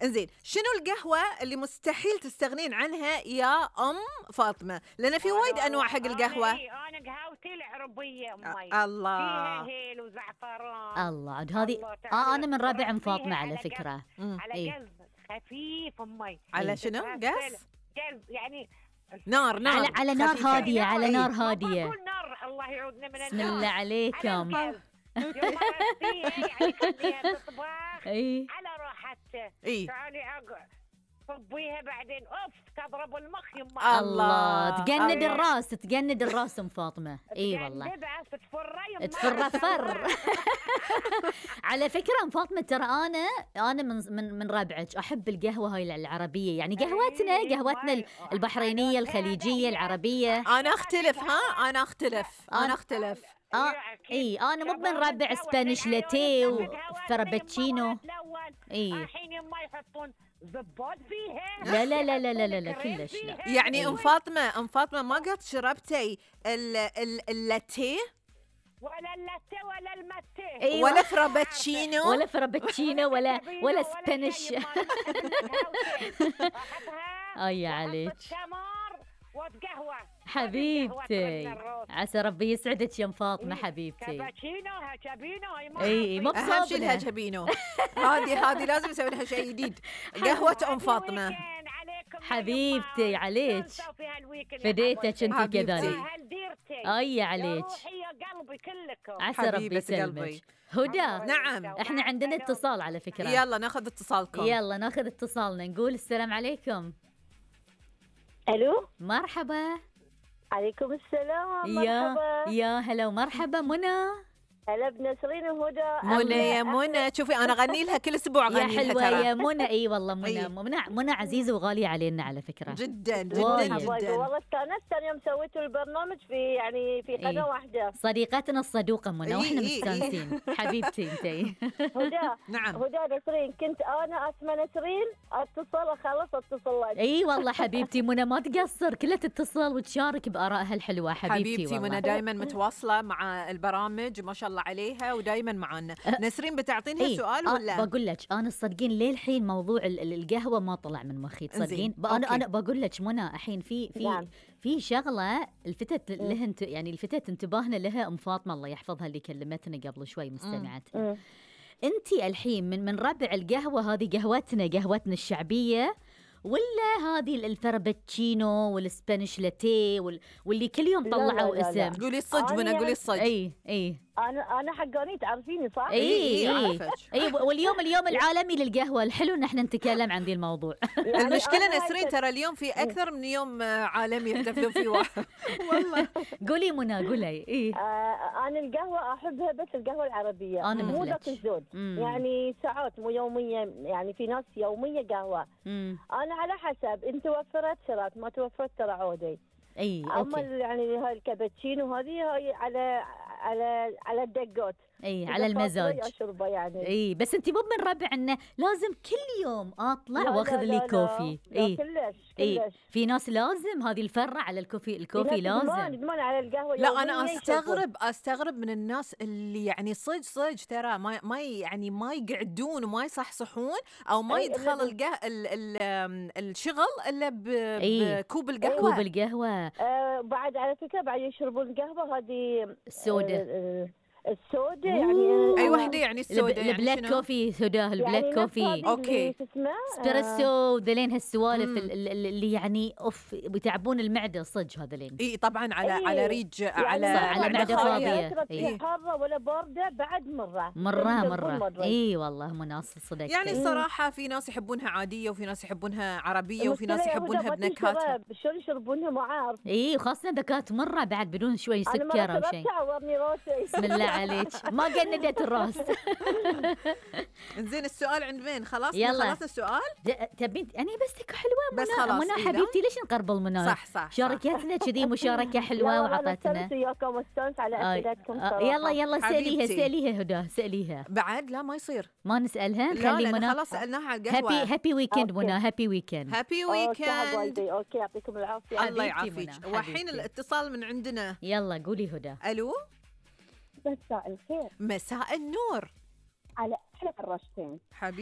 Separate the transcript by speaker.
Speaker 1: انزين، شنو القهوة اللي مستحيل تستغنين عنها يا أم فاطمة؟ لأن في وايد أنواع حق القهوة.
Speaker 2: أنا قهوتي العربية أمي
Speaker 1: الله،
Speaker 2: فيها هيل وزعفران.
Speaker 3: الله عاد هذه أنا من ربع أم فاطمة على فكرة.
Speaker 2: على قلب خفيف أمي.
Speaker 1: على شنو؟ قلب
Speaker 2: يعني
Speaker 1: نار
Speaker 3: على نار هادية، على نار هادية.
Speaker 2: نار الله يعودنا من النار.
Speaker 3: بسم الله عليكم.
Speaker 2: يعني خليها تطبخ على راحتها. تعالي صبيها بعدين تضرب المخ يما.
Speaker 3: الله تجند الراس، تجند الراس ام فاطمه. اي والله تفر. على فكره ام فاطمه ترى انا من ربعك احب القهوه هاي العربيه، يعني قهوتنا البحرينيه الخليجيه العربيه.
Speaker 1: انا اختلف. انا اختلف.
Speaker 3: انا مو من ربع سبانيش لاتيه وفرابتشينو.
Speaker 2: الحين يما يحطون زباد فيها.
Speaker 3: لا كلش لا.
Speaker 1: يعني ام فاطمه ما قد شربتي اللاتيه
Speaker 2: ولا اللاتيه ولا الماتيه
Speaker 1: ولا فرابتشينو
Speaker 3: ولا سبانيش.
Speaker 2: اي
Speaker 3: عليك
Speaker 2: وقهوة
Speaker 3: حبيبتي، عسى ربي يسعدك يا ام فاطمه حبيبتي.
Speaker 2: هجبينو
Speaker 3: اي مو
Speaker 1: اهم شيء الهجبينو. هذه لازم نسوي لها شيء جديد. قهوه ام فاطمه
Speaker 3: حبيبتي عليك، فديتك انت كذلك. اي عليك، عسى ربي يسلمك. هدى
Speaker 1: نعم،
Speaker 3: احنا عندنا اتصال على فكره.
Speaker 1: يلا ناخذ اتصالكم.
Speaker 3: يلا ناخذ اتصالنا، نقول السلام عليكم.
Speaker 4: الو
Speaker 3: مرحبا.
Speaker 4: عليكم السلام. مرحبا
Speaker 3: يا هلا ومرحبا. منى
Speaker 4: هلا بنسرين وهدى.
Speaker 1: منى يا منى، شوفي انا اغني لها كل اسبوع،
Speaker 3: يا حلوه يا منى. اي والله منى عزيزه وغاليه علينا على فكره.
Speaker 1: جدا
Speaker 4: والله استانست يوم سويتوا البرنامج في قناه واحده.
Speaker 3: صديقتنا الصدوقه منى واحنا مستانسين. حبيبتي انتي.
Speaker 4: هدى
Speaker 1: نعم
Speaker 4: هدى نسرين، كنت انا اسمى نسرين اتصل لك.
Speaker 3: اي والله حبيبتي منى ما تقصر، كلها تتصل وتشارك بارائها الحلوه. حبيبتي
Speaker 1: منى دائما متواصله مع البرامج ما شاء الله عليها ودائما معنا. نسرين بتعطينها سؤال ولا؟
Speaker 3: بقول لك انا تصدقين للحين موضوع القهوه ما طلع من مخي تصدقين. انا بقول لك منى الحين في شغله الفتت لها يعني الفتت انتباهنا لها ام فاطمه الله يحفظها اللي كلمتنا قبل شوي مستمعتنا. انتي الحين من ربع القهوه هذه قهوتنا الشعبيه، ولا هذه الفرابتشينو والسبانيش لاتيه واللي كل يوم طلعوا اسم؟
Speaker 1: قولي الصج منى، قولي الصج.
Speaker 4: اي انا حقاني تعرفيني صح؟
Speaker 3: اي واليوم العالمي للقهوه. الحلو ان احنا نتكلم عن ذي الموضوع.
Speaker 1: المشكله نسرين ترى اليوم في اكثر من يوم عالمي يحتفلون فيه واحد. والله
Speaker 3: قولي منى قولي.
Speaker 4: انا القهوه احبها بس القهوه العربيه،
Speaker 3: انا
Speaker 4: مو ذاك الزود. يعني ساعات مو يوميه، يعني في ناس يوميه قهوه. انا على حسب، انت توفرت شرات، ما توفرت ترى عودي. اما يعني هاي الكابتشينو هاي على الدقات.
Speaker 3: على المزاج
Speaker 4: اشربه يعني.
Speaker 3: بس انت مو من ربع انه لازم كل يوم اطلع واخذ لي كوفي.
Speaker 4: كلش
Speaker 1: في
Speaker 3: ناس لازم هذه الفرة على الكوفي لازم.
Speaker 4: على القهوه.
Speaker 1: لا انا استغرب من الناس اللي يعني صج ترى ما يعني ما يقعدون وما يصحصحون او ما يدخل الشغل الا بكوب القهوه.
Speaker 3: كوب القهوه.
Speaker 4: بعد على فكره بعد يشربون القهوه هذه
Speaker 3: السودا
Speaker 4: يعني.
Speaker 1: اي وحده يعني السودا يعني
Speaker 3: البلاك كوفي سوداه البلاك
Speaker 4: يعني
Speaker 3: كوفي.
Speaker 4: اوكي
Speaker 3: اسبريسو ذلين هالسوالف اللي يعني بيتعبون المعده صج هذلين.
Speaker 1: طبعا على ريج
Speaker 4: يعني
Speaker 3: على معده فاضيه.
Speaker 4: حاره ولا بارده بعد مره.
Speaker 3: والله مناص صدق.
Speaker 1: يعني الصراحه في ناس يحبونها عاديه وفي ناس يحبونها عربيه وفي ناس يحبونها بنكهات.
Speaker 4: شلون يشربونها ما عارف.
Speaker 3: وخاصه ذكات مره بعد بدون شوي سكر او شيء. بسم الله عليك ما جندت الراس.
Speaker 1: زين السؤال عند مين؟ خلصنا السؤال.
Speaker 3: تبين أنا بس حلوة
Speaker 1: بس خلاص.
Speaker 3: منى حبيبتي ليش نقربل منى؟
Speaker 1: صح
Speaker 3: شاركتنا كذي مشاركة حلوة وعطتنا.
Speaker 4: وياكم واستانس على أسئلتكم.
Speaker 3: يلا سأليها هدى سأليها.
Speaker 1: بعد لا ما يصير
Speaker 3: ما نسألها.
Speaker 1: لا منى خلاص سألناها على القهوة.
Speaker 3: هابي ويكند منى. هابي ويكند.
Speaker 4: اوكي يعطيكم العافية.
Speaker 1: الله يعافيك. والحين الاتصال من عندنا.
Speaker 3: يلا قولي هدى.
Speaker 1: الو.
Speaker 4: مساء الخير.
Speaker 1: مساء النور.
Speaker 5: على احلى فراشتين.